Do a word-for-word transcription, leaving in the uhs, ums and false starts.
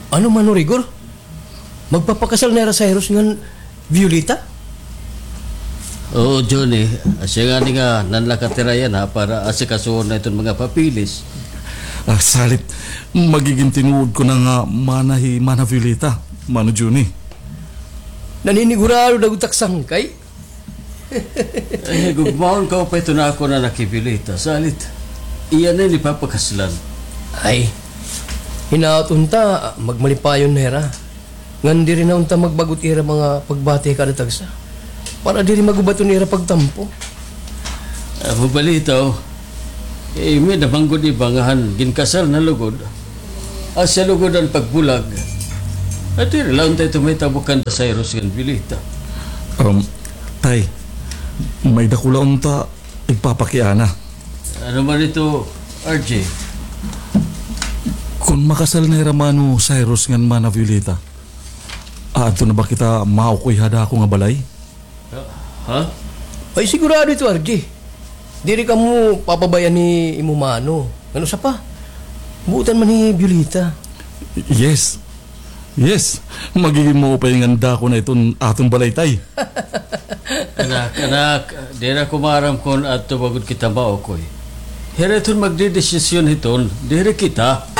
Ano, Mano Rigor? Magpapakasal na hira Cyrus ngan Violeta? Oo, Johnny. Asya ngani nga nanlakat hira yana para asikasuhon na iton mga papeles. Ah, salit, magigin tinuod ko na nga mana hi Mana Violeta, Mano Johnny. Naninigurado na gud ak sangkay. Eh, gugmaon ka pa ito na ako na nakibili ta. Salit, iya na ini papakaslan. Ay, hinaot unta, magmalipayon na hira. Ngan diri na unta magbag-o it ira mga pagbati kada tagsa. Para diri magubat-on ira pagtampo. Amo balita, oh. Eh, may namanggod iba nga han ginkasal na lugod. Asya lugod an pagbulag. At diri la unta ito mahitabo kan Cyrus ngan Violeta. Um, tay, may dakula unta igpapakiana. Ano man ito, R J? Kon makasal na hira Mano Cyrus ngan Mana Violeta, aadto na ba kita maukoy ha dako nga balay? Ha? Ay, sigurado ito, R J. Diri kamo papabay-an ni imo mano. Ngan usa pa, buotan man hi Violeta. Yes. Yes. Magigin maupay ngan dako na iton aton balay, tay. Anak, anak, diri ako maaram kon adto ba gud kita maukoy. Hira iton magdedesisyon hiton, diri kita.